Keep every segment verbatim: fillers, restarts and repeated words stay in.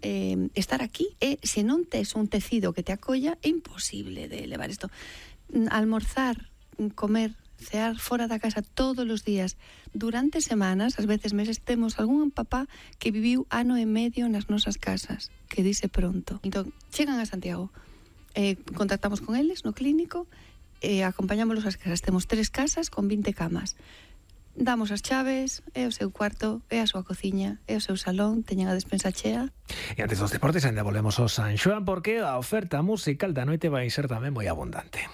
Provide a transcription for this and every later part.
eh, estar aquí. E se non tes un tecido que te acolla, é imposible de levar isto. Almorzar, comer, cear fora da casa todos os días durante semanas, ás veces meses, temos algún papá que viviu ano e medio nas nosas casas, que dice pronto. Entón, chegan a Santiago, eh, contactamos con eles no clínico, eh, acompañámoslos ás casas. Temos tres casas con vinte camas. Damos as chaves, é o seu cuarto, é a súa cociña, é o seu salón, teñen a despensa chea. E antes dos deportes ainda volvemos ao San Xoán, porque a oferta musical da noite vai ser tamén moi abundante.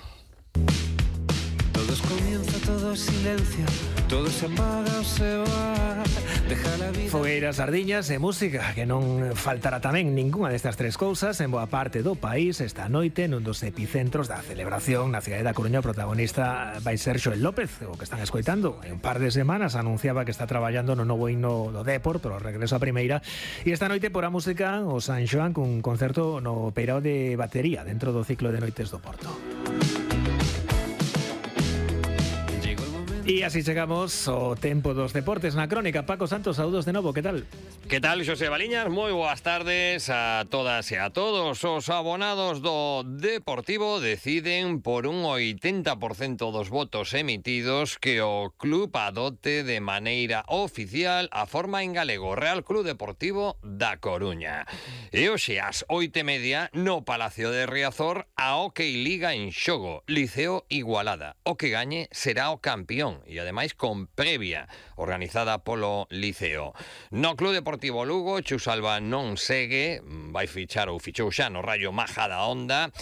Todo comienza, todo silencio, todo se apaga o se va. Deja la vida. Fogueiras, sardiñas e música, que non faltará tamén ningunha destas tres cousas en boa parte do país esta noite nun dos epicentros da celebración na cidade da Coruña. O protagonista vai ser Xoel López, o que están escoitando. En un par de semanas anunciaba que está traballando no novo himno do Dépor, pero regreso a primeira. E esta noite por a música o San Xoán cun concerto no Peirao de batería dentro do ciclo de noites do Porto. E así chegamos ao tempo dos deportes na crónica. Paco Santos, saúdos de novo, que tal? Que tal, Xosé Baliñas? Moi boas tardes a todas e a todos. Os abonados do Deportivo deciden por un oitenta por cento dos votos emitidos que o club adote de maneira oficial a forma en galego Real Club Deportivo da Coruña. E hoxe ás oito e media no Palacio de Riazor a Hockey Liga en xogo, Liceo Igualada. O que gañe será o campeón e ademais con previa organizada polo Liceo. No Club Deportivo Lugo, Chus Alba non segue, vai fichar ou fichou xa no Rayo Majadahonda.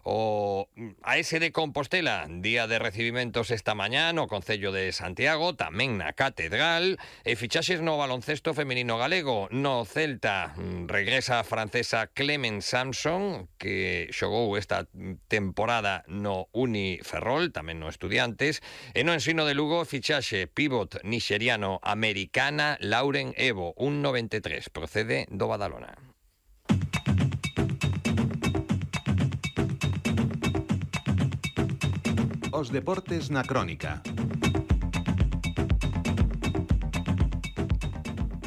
O A S de Compostela, día de recibimentos esta mañá no Concello de Santiago, tamén na Catedral. E fichaxes no baloncesto feminino galego. No Celta regresa a francesa Clement Samson, que xogou esta temporada no Uni Ferrol, tamén no Estudiantes. E no Ensino de Lugo, fichaxe pivot nixeriano americana Lauren Evo, un noventa e tres, procede do Badalona. Os deportes na crónica.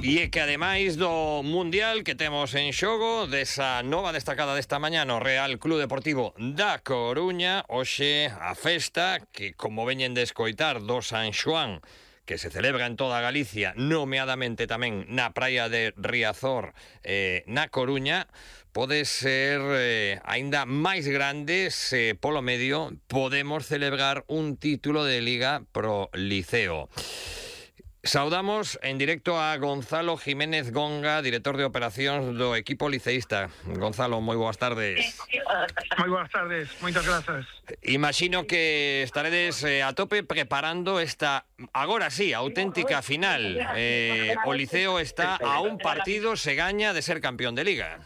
E é que ademais do Mundial que temos en xogo, desa nova destacada desta mañá no Real Club Deportivo da Coruña, hoxe a festa que, como veñen de escoitar, do San Xoán, que se celebra en toda Galicia, nomeadamente tamén na praia de Riazor, eh, na Coruña, pode ser eh, aínda máis grande se polo medio podemos celebrar un título de Liga pro Liceo. Saudamos en directo a Gonzalo Jiménez Gonga, director de operacións do equipo liceísta. Gonzalo, moi boas tardes. Moi boas tardes, moitas grazas. Imagino que estaredes eh, a tope preparando esta, agora sí, auténtica final. Eh, o Liceo está a un partido, se gaña, de ser campeón de Liga.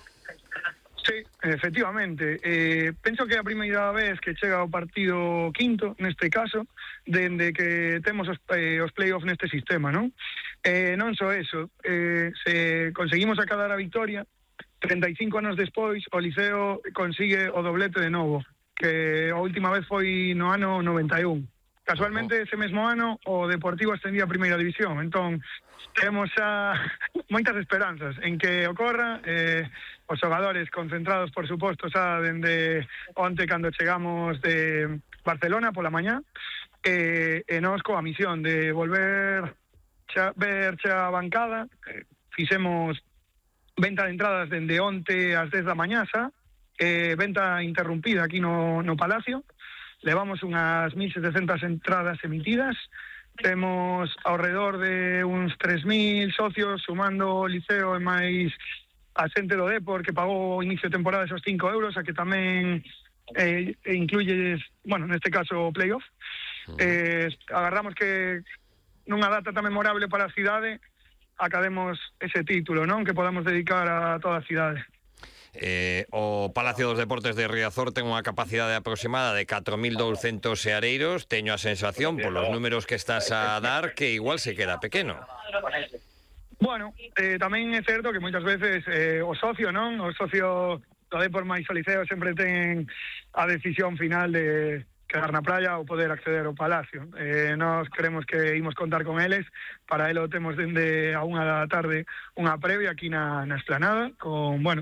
Sí, efectivamente. Eh, penso que é a primeira vez que chega o partido quinto, neste caso, dende que temos os, eh, os play-off neste sistema, non? Eh, non só eso, eh, se conseguimos acadar a victoria, treinta e cinco anos despois, o Liceo consigue o doblete de novo, que a última vez foi no ano noventa e un. Casualmente, ese mesmo ano, o Deportivo ascendía a primeira división, entón temos xa moitas esperanzas en que ocorra. eh, os xogadores concentrados, por suposto, xa dende onte cando chegamos de Barcelona pola mañá, e, e nos coa misión de volver xa, ver xa a bancada. eh, fixemos venta de entradas dende onte ás dez da mañá xa, eh, venta interrumpida aquí no, no Palacio. Levamos unhas mil setecentas entradas emitidas. Temos ao redor de uns tres mil socios, sumando o Liceo e máis a xente do Depor que pagou o inicio de temporada esos cinco euros, a que tamén eh, incluye, bueno, neste caso o playoff. Eh, agarramos que nunha data tan memorable para a cidade academos ese título, non? Que podamos dedicar a toda a cidade. Eh, o Palacio dos Deportes de Riazor ten unha capacidade aproximada de catro mil douscentos seareiros. Teño a sensación, polos números que estás a dar, que igual se queda pequeno. Bueno, eh, tamén é certo que moitas veces eh, o socio, non? O socio do Depor máis o Liceo sempre ten a decisión final de quedar na praia ou poder acceder ao Palacio. Eh, nós queremos que imos contar con eles, para elo temos dende a unha da tarde unha previa aquí na, na Esplanada, con, bueno,